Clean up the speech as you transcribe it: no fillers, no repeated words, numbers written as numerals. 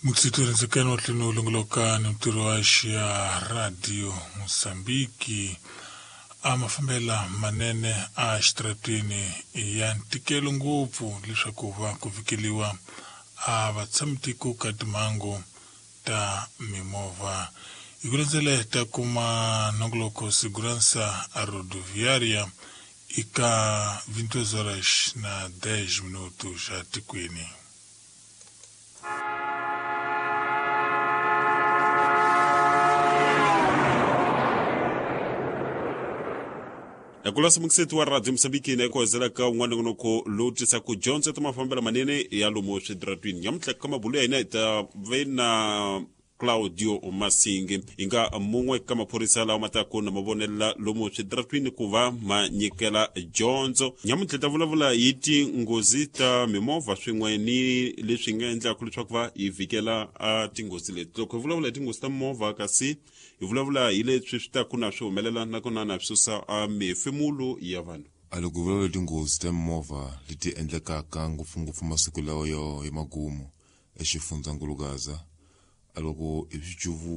Mukisitorinzekeni wa tlino longoloka ni ntirho wa xa Radio Mozambique a mafambela manene a xitarateni ya ntikelo ngopfu leswaku va ku fikeliwa a vatshamitiko ka timhangu ta mimovha hi ku landzela ta kuma nongoloko Segurança Rodoviária eka 22 horas na 10 minutos xa tikweni. Ekulasa mukiseti wa Radio Mosambiki na ekuhezela ka un'wana nongonoko lowu tisaka dyondzo ta mafambelo manene ya lomu switaratwini. Nyamuntlha ka mabulu ya hina hi ta ve na Claudio Masingi, hi nga mun'we ka maphorisa lawa ma taku na mavonela lomu switaratwini ku va ma nyikela dyondzo. Nyamuntlha ta vulavula hi tinghozi ta mimovha swin'we ni leswi nga endlaka leswaku va hi vhikela a tinghozi leti. Loko hi vulavula hi tinghozi ta mimovha, kasi hi vulavula hi leswi swi taku na swi humelela nakona na swi susa a mihefemulo ya vanhu. A loko hi vulavula hi tinghozi ta mimovha leti endlekaka ngopfungopfu masiku lawa yo ya magumu exifundzankulu Gaza, a loko hi swi cuvu